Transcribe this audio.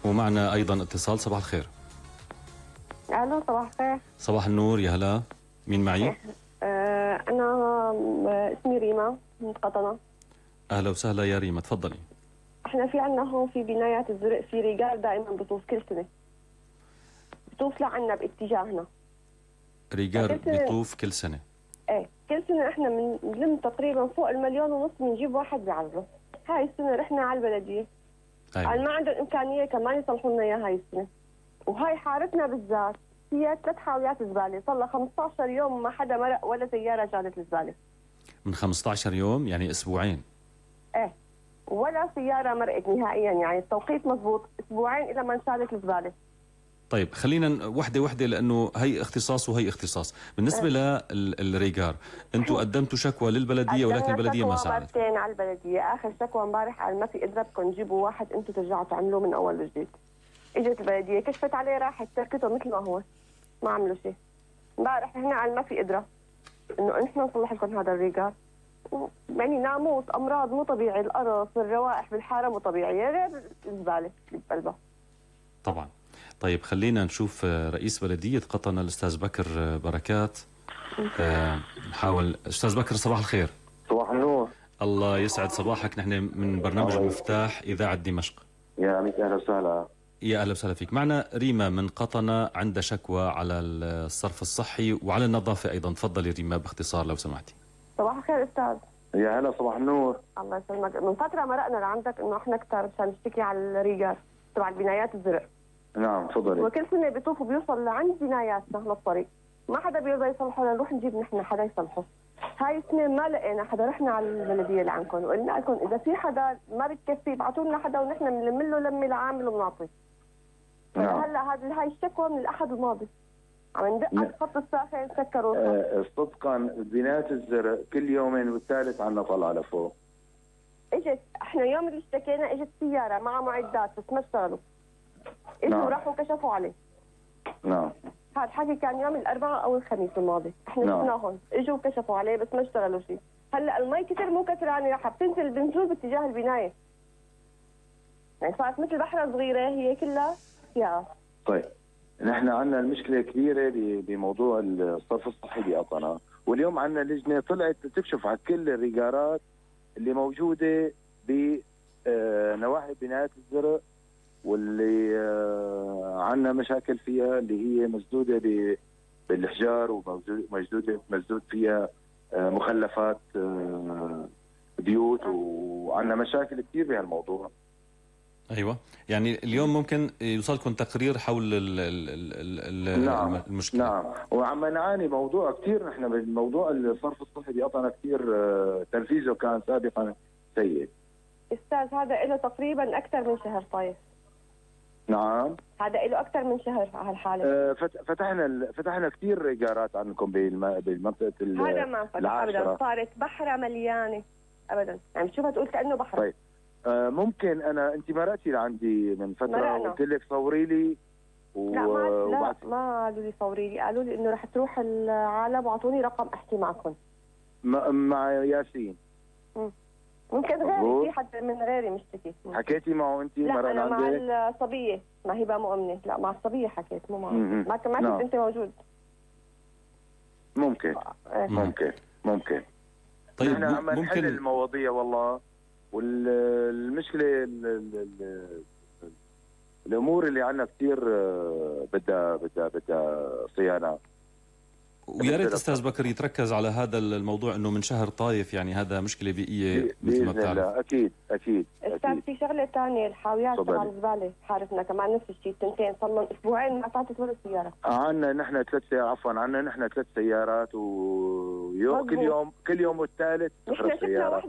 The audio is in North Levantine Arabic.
ومعنا أيضا اتصال. صباح الخير. الو صباح الخير. صباح النور، يا هلا. مين معي؟ انا اسمي ريما من قطنة. أهلا وسهلا يا ريما، تفضلي. احنا في عنا هون في بنايات الزرق في رجال دائما بطوف كل سنة، بطوف لعنا باتجاهنا. ريجار بيطوف كل سنة؟ ايه كل سنة احنا بنلم تقريبا فوق 1.5 مليون بنجيب واحد بيعرضه. هاي السنة رحنا على البلدية. أيوة. قال ما عندهم إمكانية كمان يصلحوا لنا إياها هاي السنة. وهاي حارتنا بالذات فيها 3 حاويات زبالة، صار لها 15 يوم ما حدا مرق ولا سيارة شالت الزبالة. من 15 يوم يعني أسبوعين؟ ايه ولا سيارة مرقت نهائيا، يعني التوقيت مضبوط، أسبوعين إلى ما انشالت الزبالة. طيب خلينا وحدة لأنه هي اختصاص وهي اختصاص. بالنسبة للريجار، أنتم قدمتوا شكوى للبلدية ولكن البلدية ما ساعدت. مرتين على البلدية، آخر شكوى امبارح قال ما في قدرتكم تجيبوا واحد، أنتم ترجعوا تعملوه من أول وجديد. اجت البلدية كشفت عليه راحت تركته مثل ما هو، ما عملوا شيء. امبارح هنا قال ما في قدرة إنه نحن نصلح لكم هذا الريجار. يعني ناموس، أمراض مو طبيعي، القرص، الروائح بالحارة مو طبيعية، غير الزبالة اللي بقلبها. طبعا. طيب خلينا نشوف رئيس بلدية قطنة الأستاذ بكر بركات. نحاول. أستاذ بكر صباح الخير. صباح النور. الله يسعد صباحك، نحن من برنامج المفتاح إذاعة دمشق. يا عميك أهلا وسهلا. يا أهلا وسهلا فيك. معنا ريما من قطنة عندها شكوى على الصرف الصحي وعلى النظافة أيضا. تفضلي ريما باختصار لو سمحتي. صباح الخير أستاذ. يا هلا صباح النور. الله يسلمك. من فترة مرقنا لعندك إنه إحنا كتار مشان نشتكي على الريجار تبع البنايات الزرق. نعم تفضلي. وكل سنة بيطوفوا بيوصل لعند بناياتنا للطريق، ما حدا بيرضى يصلحه، نروح نجيب نحن حدا يصلحه. هاي السنة ما لقينا حدا، رحنا على البلدية اللي عندكم وقلنا لكم إذا في حدا ما بتكفي ابعثوا لنا حدا ونحن بنلم له لمة لعامل وبنعطيه. نعم. هلا هاي الشكوى من الأحد الماضي عم ندق على الخط الساخن سكروا. صدقا بنايات الزرق كل يومين والثالث عنا طلعة لفوق. اجت احنا يوم اللي اشتكينا اجت سيارة مع معدات بس ما اشتغلوا. اجوا نعم. راحوا كشفوا عليه. نعم. هذا الحكي كان يوم الأربعاء أو الخميس الماضي، احنا شفناهم اجوا كشفوا عليه بس ما اشتغلوا شيء. هلا المي كثر مو كثرانه، راح بتنزل بنزول باتجاه البنايه. يعني صارت مثل بحره صغيره هي كلها فيها. طيب نحن عندنا المشكله كبيره بموضوع الصرف الصحي بقطنة، واليوم عندنا لجنه طلعت تكشف على كل الريجارات اللي موجوده بنواحي بنايات الزرق واللي عندنا مشاكل فيها، اللي هي مسدوده بالحجار ومسدود فيها مخلفات بيوت، وعندنا مشاكل كثير بهالموضوع. ايوه، يعني اليوم ممكن يوصلكم تقرير حول نعم. المشكله. نعم، وعم نعاني موضوع كثير. نحن بالموضوع الصرف الصحي بقطنة كثير تنفيذه كان سابقا سيء. استاذ هذا له تقريبا اكثر من شهر طايف. نعم هذا له اكثر من شهر على هالحاله. فتحنا كثير ريجارات عندكم بالمنطقه هذا ما فتح ابدا، صارت بحره مليانه ابدا، يعني بتشوفها تقول كانه بحر. طيب ممكن انت مرقتي لعندي من فتره وقلت لك صوري لي لا ما قالوا لي صوري لي، قالوا لي انه رح تروح العالم واعطوني رقم احكي معكم. مع ياسين. ممكن غيري، في حد من غيري مشتكي. حكيتي معه انت؟ لا انا مع الصبيه، ما هي مؤمنه، لا مع الصبيه حكيت مو معه. ما كنت انت موجود. ممكن. طيب نحن عم نحل المواضيع والله، والمشكله الامور اللي عندنا كثير بدها صيانه. ويا ريت استاذ بكر يتركز على هذا الموضوع، انه من شهر طايف يعني هذا مشكله بيئيه مثل ما بتعرف. اكيد. استاذ في شغله ثانيه، الحاويات تبع الزباله حارتنا كمان نفس الشيء، التنتين صار لهم اسبوعين ما فاتت ولا سياره. عندنا نحن 3 سيارات، ويوم كل يوم والثالث تخرب سياره.